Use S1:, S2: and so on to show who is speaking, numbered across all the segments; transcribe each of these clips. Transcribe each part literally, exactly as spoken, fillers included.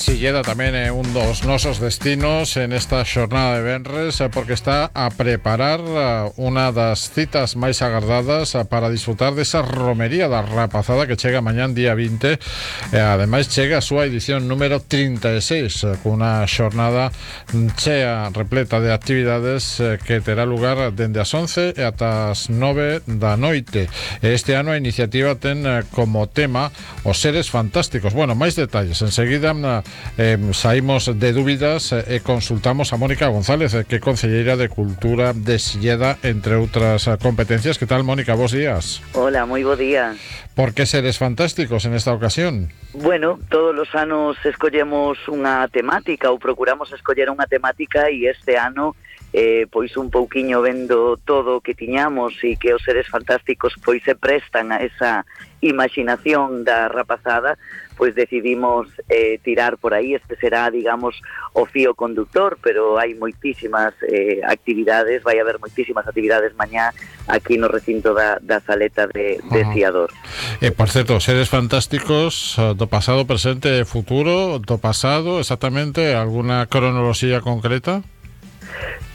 S1: Silleda tamén é un dos nosos destinos en esta xornada de venres, porque está a preparar unha das citas máis agardadas para disfrutar desa romería da rapazada que chega mañán día vinte, e ademais chega a súa edición número trinta e seis, cunha xornada chea repleta de actividades que terá lugar dende as once e ata as nove da noite. Este ano a iniciativa ten como tema os seres fantásticos. Bueno, máis detalles enseguida. Eh, saímos de dúbidas e eh, consultamos a Mónica González, eh, que é concelleira de Cultura de Silleda, entre outras eh, competencias. Que tal, Mónica? Bos días.
S2: Hola, moi bo día.
S1: Por que seres fantásticos en esta ocasión?
S2: Bueno, todos os anos escollemos unha temática ou procuramos escoller unha temática, e este ano eh, pois un pouquiño vendo todo o que tiñamos e que os seres fantásticos pois se prestan a esa imaginación da rapazada, pois decidimos eh, tirar por aí. Este será, digamos, o fío conductor, pero hai moitísimas eh, actividades, vai haber moitísimas actividades mañá aquí no recinto da, da Saleta de, de Ciador.
S1: E, por certo, seres fantásticos do pasado, presente e futuro. Do pasado, exactamente, alguna cronoloxía concreta?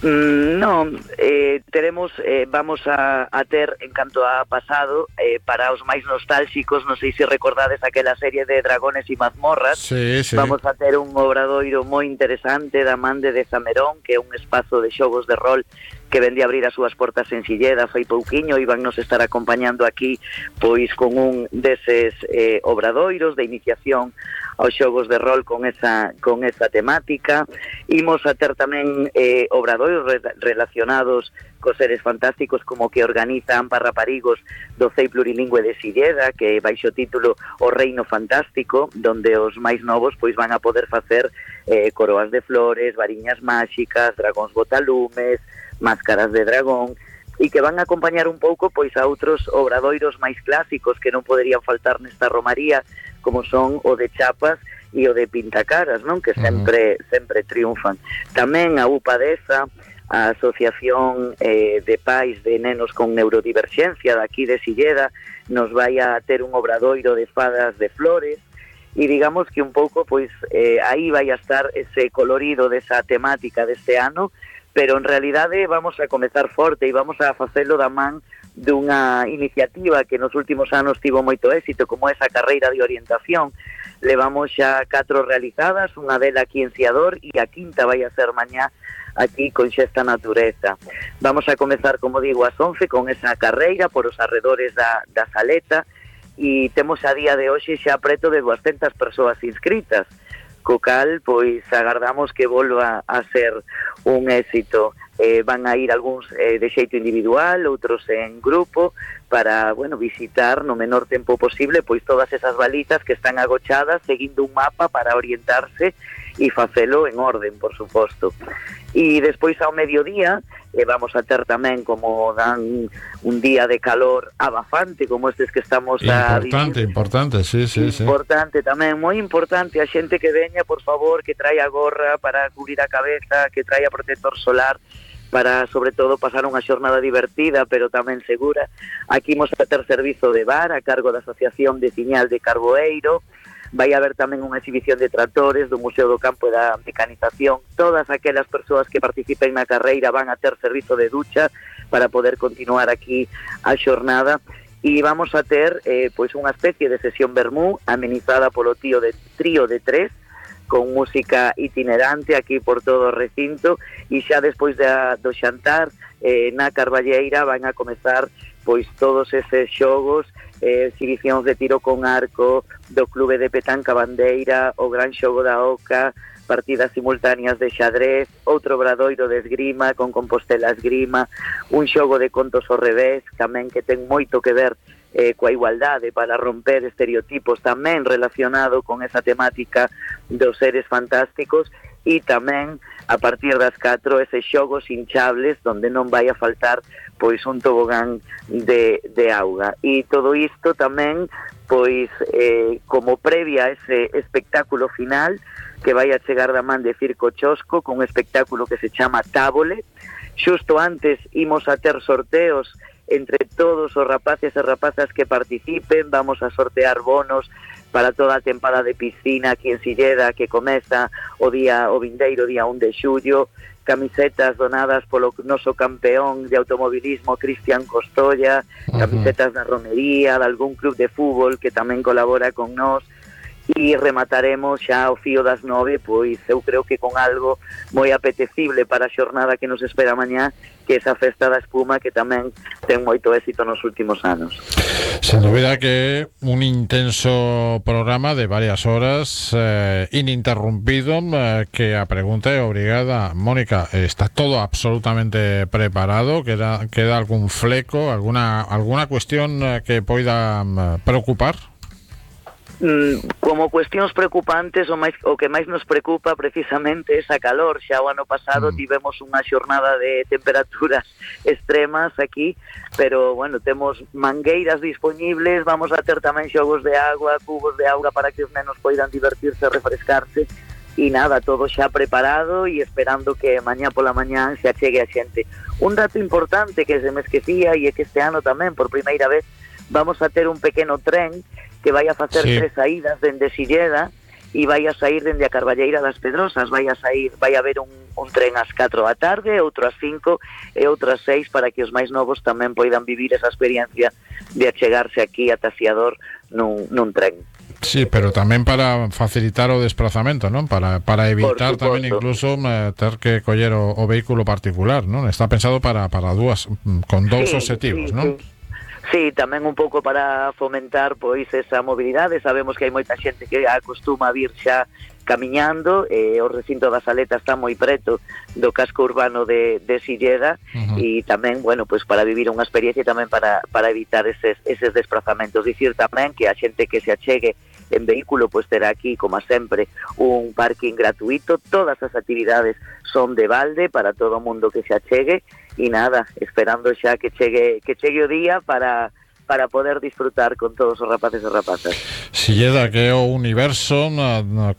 S2: Mm, non, eh, teremos, eh, vamos a, a ter, en canto a pasado, eh, para os máis nostálxicos, non sei se recordades aquela serie de Dragones e Mazmorras,
S1: sí, sí.
S2: Vamos a ter un obradoiro moi interesante da man de Desamerón, que é un espazo de xogos de rol que vende a abrir as súas portas en Silleda fai pouquiño, e van nos estar acompañando aquí pois con un deses eh, obradoiros de iniciación aos xogos de rol con esa con esa temática. Imos a ter tamén eh, obradoiros re relacionados cos seres fantásticos, como que organiza Ampa Raparigos do C E I Plurilingüe de Silleda, que baixo o título O Reino Fantástico, donde os máis novos pois van a poder facer eh, coroas de flores, variñas máxicas, dragóns botalumes, máscaras de dragón, e que van a acompañar un pouco pois a outros obradoiros máis clásicos que non poderían faltar nesta romaría, como son o de Chapas e o de Pintacaras, non? Que sempre uh-huh. sempre triunfan. Tamén a UPADESA, a Asociación eh, de Pais de Nenos con Neurodiverxencia daqui de Silleda, nos vai a ter un obradoiro de fadas de flores, e digamos que un pouco pois eh, aí vai a estar ese colorido desa temática deste ano, pero en realidade vamos a comezar forte e vamos a facelo da man dunha iniciativa que nos últimos anos tivo moito éxito, como esa carreira de orientación. Levamos xa catro realizadas, unha dela aquí en Ciador, e a quinta vai a ser mañá aquí con Xesta Natureza. Vamos a comezar, como digo, ás once con esa carreira por os arredores da, da Saleta, e temos a día de hoxe xa preto de duascentas persoas inscritas, co cal, pois, agardamos que volva a ser un éxito. Eh, van a ir algúns eh, de xeito individual, outros en grupo, para, bueno, visitar no menor tempo posible pois todas esas balizas que están agochadas, seguindo un mapa para orientarse e facelo en orden, por suposto. E despois ao mediodía eh, vamos a ter tamén, como dan un día de calor abafante como estes que estamos a vivir.
S1: Importante, importante, sí, sí,
S2: importante sí. Tamén, moi importante, a xente que veña, por favor, que traia gorra para cubrir a cabeza, que traia protector solar, para, sobre todo, pasar unha xornada divertida, pero tamén segura. Aquí imos a ter servizo de bar a cargo da Asociación de Ciñal de Carboeiro. Vai haber tamén unha exhibición de tractores do Museo do Campo e da Mecanización. Todas aquelas persoas que participen na carreira van a ter servizo de ducha para poder continuar aquí a xornada. E vamos a ter eh, pois unha especie de sesión vermú amenizada polo tío de trío de tres, con música itinerante aquí por todo o recinto, e xa despois da, do xantar eh, na Carballeira van a comezar pois todos eses xogos, eh, exhibicións de tiro con arco do Clube de Petanca Bandeira, o gran xogo da Oca, partidas simultáneas de xadrez, outro obradoiro de esgrima con Compostela Esgrima, un xogo de contos ao revés, tamén que ten moito que ver eh, coa igualdade, para romper estereotipos, tamén relacionado con esa temática dos seres fantásticos, e tamén a partir das catro eses xogos hinchables donde non vai a faltar pois un tobogán de, de auga. E todo isto tamén pois eh, como previa a ese espectáculo final que vai a chegar da man de Circo Chosco, con un espectáculo que se chama Tábole. Xusto antes imos a ter sorteos entre todos os rapaces e rapazas que participen, vamos a sortear bonos para toda a tempada de piscina aquí en Silleda, que comeza o día o vindeiro día un de xullo, camisetas donadas polo noso campeón de automobilismo Cristian Costolla, camisetas da romería, de algún club de fútbol que tamén colabora con nós, e remataremos xa ao fío das nove, pois eu creo que con algo moi apetecible para a xornada que nos espera mañá, que esa festa da espuma que tamén ten moito éxito nos últimos anos.
S1: Sen dúbida que un intenso programa de varias horas eh, ininterrumpido, eh, que a pregunta é obrigada. Mónica, está todo absolutamente preparado? Queda, queda algún fleco, alguna, alguna cuestión eh, que poida eh, preocupar?
S2: Como cuestións preocupantes, o, máis, o que máis nos preocupa precisamente é esa calor. Xa o ano pasado mm. tivemos unha xornada de temperaturas extremas aquí, pero bueno, temos mangueiras disponibles, vamos a ter tamén xogos de agua, cubos de auga para que os nenos poidan divertirse e refrescarse, e nada, todo xa preparado e esperando que mañá pola mañá se achegue a xente. Un dato importante que se me esquecía e é que este ano tamén, por primeira vez, vamos a ter un pequeno tren que vai a facer sí. tres saídas dende Silleda e vai a sair dende a Carballeira das Pedrosas. Vai a sair, vai a haber un, un tren ás catro da tarde, outro ás cinco e outro ás seis, para que os máis novos tamén poidan vivir esa experiencia de achegarse aquí a Taciador nun, nun tren.
S1: Sí, pero tamén para facilitar o desplazamento, non? Para, para evitar tamén incluso eh, ter que coller o, o vehículo particular, non? Está pensado para, para dúas, con dous sí, objetivos,
S2: sí,
S1: non?
S2: Sí. Sí, tamén un pouco para fomentar pois esa mobilidade. Sabemos que hai moita xente que acostuma a vir xa camiñando, e o recinto da Saleta está moi preto do casco urbano de, de Silleda, uh-huh. e tamén, bueno, pois para vivir unha experiencia e tamén para, para evitar eses, eses desplazamentos. Dicir tamén que a xente que se achegue en vehículo pois terá aquí, como sempre, un parking gratuito. Todas as actividades son de balde para todo o mundo que se achegue, e nada, esperando xa que chegue que chegue o día para para poder disfrutar con todos os rapaces e rapazas.
S1: Silleda, que é o universo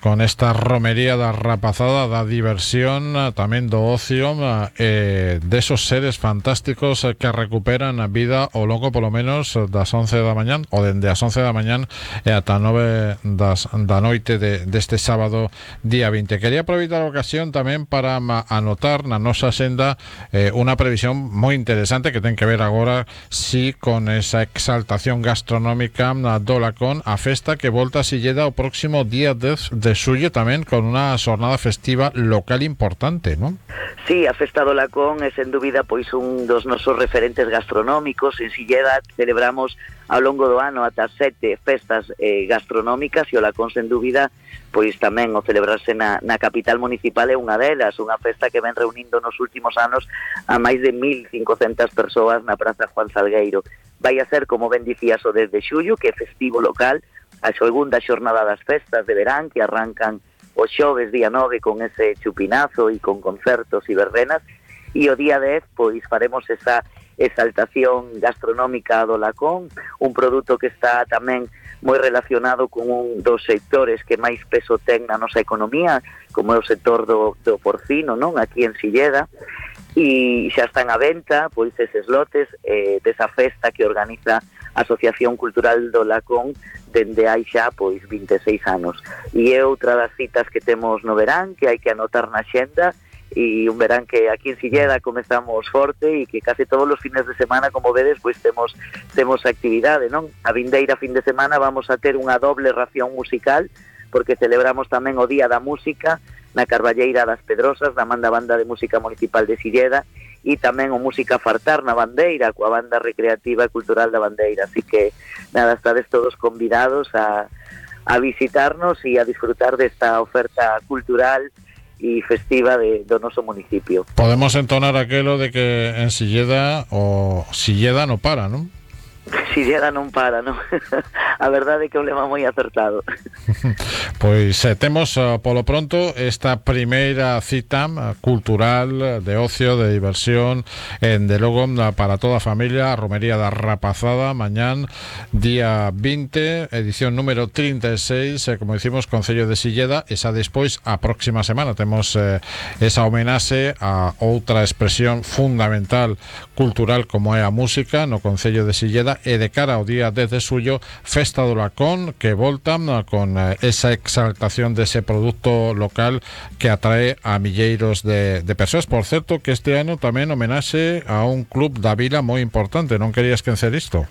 S1: con esta romería da rapazada, da diversión, tamén do ocio, eh, desos seres fantásticos que recuperan a vida ao longo polo menos das once da mañán, ou dende as once da mañán e ata nove das, da noite de, deste sábado día vinte. Quería aproveitar a ocasión tamén para anotar na nosa senda eh, unha previsión moi interesante que ten que ver agora si con esa exaltación gastronómica do Lacón, a festa que volta a Silleda o próximo día dez de xullo, tamén con unha xornada festiva local importante, non?
S2: Sí, a festa do Lacón é sen dúbida pois un dos nosos referentes gastronómicos. En Silleda celebramos ao longo do ano ata sete festas eh, gastronómicas, e o Lacón sen dúbida pois tamén o celebrarse na, na capital municipal é unha delas, unha festa que ven reunindo nos últimos anos a máis de mil cincocentas persoas na Praza Juan Salgueiro. Vai a ser, como ben dicías, o dez de xullo, que é festivo local, a segunda xornada das festas de verán, que arrancan o xoves día nove con ese chupinazo e con concertos e verbenas, e o día dez pois faremos esa exaltación gastronómica do Lacón, un produto que está tamén moi relacionado con un dos sectores que máis peso ten na nosa economía, como é o sector do, do porcino, non? Aquí en Silleda, e xa están á venta pois eses lotes eh, desa festa que organiza a Asociación Cultural do Lacón dende hai xa pois vinte e seis anos, e é outra das citas que temos no verán que hai que anotar na xenda, e un verán que aquí en Silleda comezamos forte e que case todos os fines de semana, como vedes, pois temos temos actividade, non? A vindeira fin de semana vamos a ter unha doble ración musical, porque celebramos tamén o Día da Música na Carballeira das Pedrosas, da Manda Banda de Música Municipal de Silleda, e tamén o Música Fartar na Bandeira, coa Banda Recreativa e Cultural da Bandeira. Así que, nada, estades todos convidados a, a visitarnos e a disfrutar desta oferta cultural e festiva de, do noso municipio.
S1: Podemos entonar aquelo de que en Silleda o Silleda no para, non?
S2: Silleda non para, non? A verdade é que é un lema moi acertado.
S1: Pois eh, temos uh, polo pronto esta primeira cita uh, cultural, de ocio, de diversión, en de logo uh, para toda a familia, a Romería da Rapazada, mañán día vinte, edición número trinta e seis, eh, como dicimos, Concello de Silleda. Esa despois, a próxima semana temos eh, esa homenaxe a outra expresión fundamental cultural como é a música no Concello de Silleda, Galicia e de cara ao día dez de xullo, Festa do Lacón, que voltan con esa exaltación dese produto local que atrae a milleiros de, de persoas. Por certo, que este ano tamén homenaxe a un club da vila moi importante, non querías esquecer isto?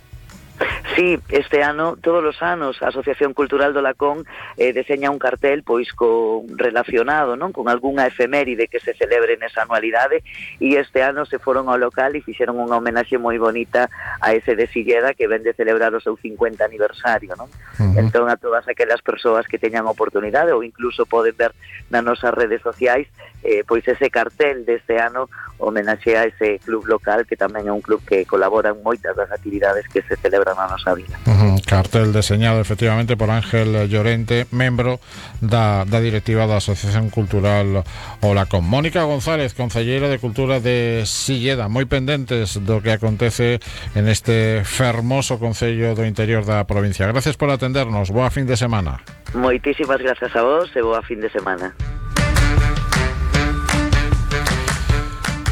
S2: Sí, este ano, todos os anos, a Asociación Cultural do Lacón eh, deseña un cartel pois co relacionado, non, con algunha efeméride que se celebre nesa anualidade, e este ano se foron ao local e fixeron unha homenaxe moi bonita a ese de Silleda que ven de celebrar o seu cincuenta aniversario, non? Uh-huh. Entón, a todas aquelas persoas que teñan oportunidade ou incluso poden ver nas nosas redes sociais eh, pois ese cartel deste ano homenaxe a ese club local, que tamén é un club que colabora en moitas das actividades que se celebran na nosa vida.
S1: Uh-huh. Cartel deseñado efectivamente por Ángel Llorente, membro da, da directiva da Asociación Cultural O Lacón. Mónica González, concelleira de Cultura de Silleda, moi pendentes do que acontece en este fermoso concello do interior da provincia. Gracias por atendernos, boa fin de semana.
S2: Moitísimas gracias a vos e boa fin de semana.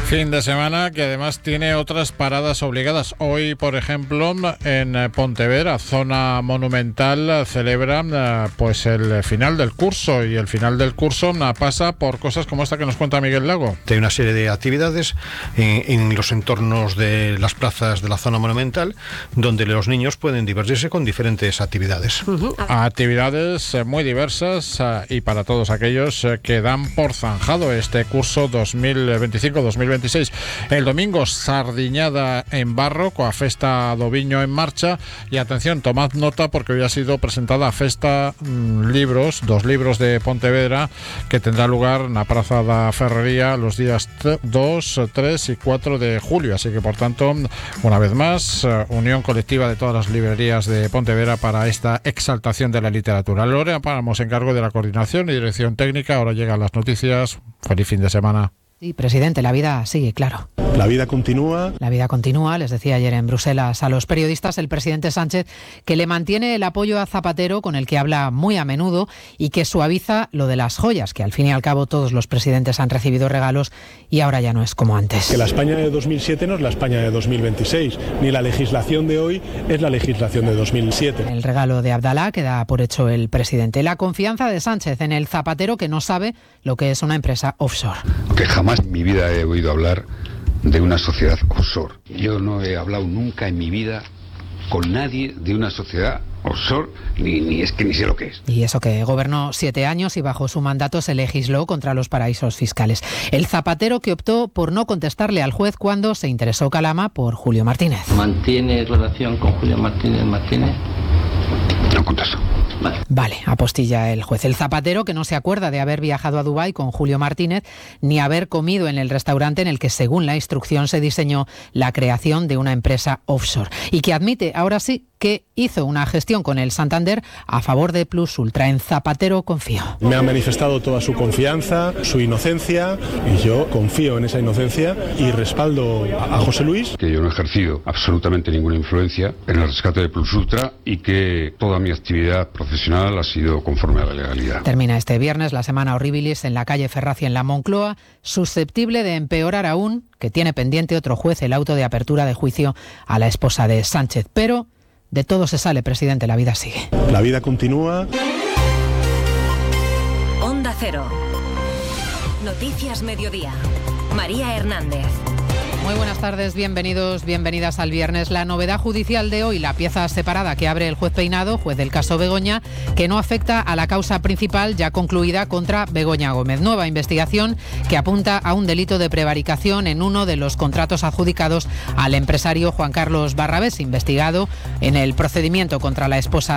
S1: Fin de semana que además tiene otras paradas obligadas. Hoy, por ejemplo, en Pontevedra, zona monumental, celebran pues el final del curso, y el final del curso pasa por cosas como esta que nos cuenta Miguel Lago.
S3: Hay una serie de actividades en, en los entornos de las plazas de la zona monumental, donde los niños pueden divertirse con diferentes actividades.
S1: Uh-huh. Actividades muy diversas y para todos aquellos que dan por zanjado este curso dos mil veinticinco dos mil veintiséis. El domingo, sardiñada en barro coa Festa do Viño en marcha, y atención, tomad nota porque hoy ha sido presentada a Festa mmm, Libros, dos libros de Pontevedra, que tendrá lugar na Praza da Ferrería los días dos, tres y cuatro de julio, así que por tanto, una vez más, unión colectiva de todas las librerías de Pontevedra para esta exaltación de la literatura. Lorena Páramo se encargó de la coordinación y dirección técnica. Ahora llegan las noticias. Feliz fin de semana.
S4: Sí, presidente, la vida sigue, claro.
S5: La vida continúa.
S4: La vida continúa, les decía ayer en Bruselas a los periodistas el presidente Sánchez que le mantiene el apoyo a Zapatero, con el que habla muy a menudo, y que suaviza lo de las joyas, que al fin y al cabo todos los presidentes han recibido regalos y ahora ya no es como antes.
S5: Que la España de dos mil siete no es la España de dos mil veintiséis, ni la legislación de hoy es la legislación de dos mil siete.
S4: El regalo de Abdalá que da por hecho el presidente. La confianza de Sánchez en el Zapatero, que no sabe lo que es una empresa offshore.
S6: Que jamás en mi vida he oído hablar de una sociedad offshore. Yo no he hablado nunca en mi vida con nadie de una sociedad offshore, ni, ni es que ni sé lo que es.
S4: Y eso que gobernó siete años y bajo su mandato se legisló contra los paraísos fiscales. El Zapatero que optó por no contestarle al juez cuando se interesó Calama por Julio Martínez.
S7: ¿Mantiene relación con Julio Martínez Martínez?
S6: No contesto.
S4: Vale. Vale, apostilla el juez. El Zapatero que no se acuerda de haber viajado a Dubái con Julio Martínez ni haber comido en el restaurante en el que, según la instrucción, se diseñó la creación de una empresa offshore, y que admite, ahora sí, que hizo una gestión con el Santander a favor de Plus Ultra. En Zapatero confío.
S5: Me ha manifestado toda su confianza, su inocencia, y yo confío en esa inocencia y respaldo a José Luis.
S6: Que yo no he ejercido absolutamente ninguna influencia en el rescate de Plus Ultra y que toda mi actividad profesional ha sido conforme a la legalidad.
S4: Termina este viernes la semana horribilis en la calle Ferracia en la Moncloa, susceptible de empeorar aún, que tiene pendiente otro juez el auto de apertura de juicio a la esposa de Sánchez. Pero de todo se sale, presidente, la vida sigue.
S5: La vida continúa.
S8: Onda Cero. Noticias Mediodía. María Hernández.
S4: Muy buenas tardes, bienvenidos, bienvenidas al viernes. La novedad judicial de hoy, la pieza separada que abre el juez Peinado, juez del caso Begoña, que no afecta a la causa principal ya concluida contra Begoña Gómez. Nueva investigación que apunta a un delito de prevaricación en uno de los contratos adjudicados al empresario Juan Carlos Barrabés, investigado en el procedimiento contra la esposa